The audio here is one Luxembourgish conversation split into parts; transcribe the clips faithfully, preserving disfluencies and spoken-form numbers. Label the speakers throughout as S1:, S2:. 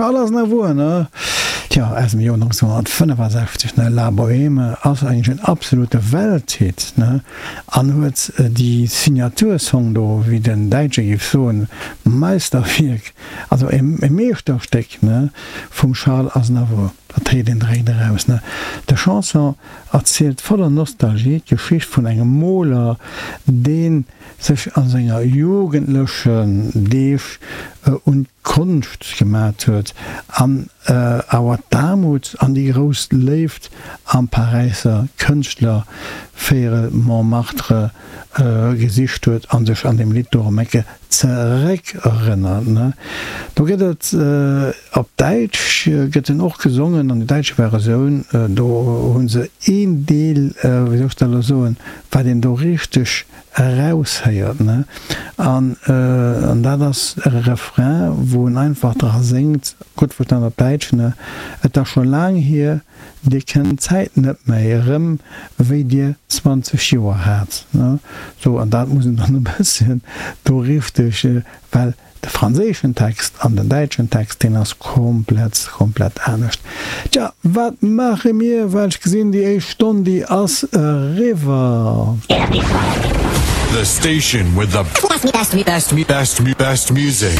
S1: Charles Aznavour, ne? Tja, aus dem Joer nonzénhonnertfënnefasechzeg, ne? La Bohème ass eigentlech en absolute Welthit, ne? An huet déi Signatursong do, wéi den Däitsche géif soen, Meisterwierk, also e Meeschterstéck, ne, vum Charles Aznavour. Dat héiert een direkt eraus, ne? De Chanson erzielt voller Nostalgie d'Geschicht vun engem Moler, dee sech a senger jugendlechen Deeg un d'Konscht gemat huet an awer d'Aarmut an déi grouss Léift am Paräisser Kënschtlervéierel Montmartre gesicht huet a sech an deem Lidd do erëm eng Kéier zeréckerënnert. Do gëtt et op Däitsch gëtt en och gesongen, an déi däitsch Versioun, do hu se een Deel, wéi soll ech dat elo soen, wat een do richteg eraushéiert, ne, an dat ass e Refrain, wou en einfach dra séngt, gutt verstan op Däitsch, ne, Et ass scho laang hier, Dir kennt d'Zäit net méi erëm, wéi Dir zwanzeg Joer hat, ne, sou, an dat muss een dann e bësschen do richteg, well de franséischen Text an den däitschen Text, deen ass komplett, komplett anescht. Tja, wat maache mir? Well ech gesinn, déi éischt Stonn, déi ass eriwwer.
S2: The station with the best, best, best, best music.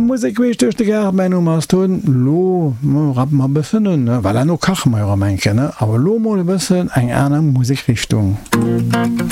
S1: Musek queesch duerch de Gaart, mäin Numm ass Tun. Lo rappe mer e bëssen un, ne? Well herno kache mer jo erëm eng Kéier, ne? Awer lo mol e bëssen eng aner Musekrichtung.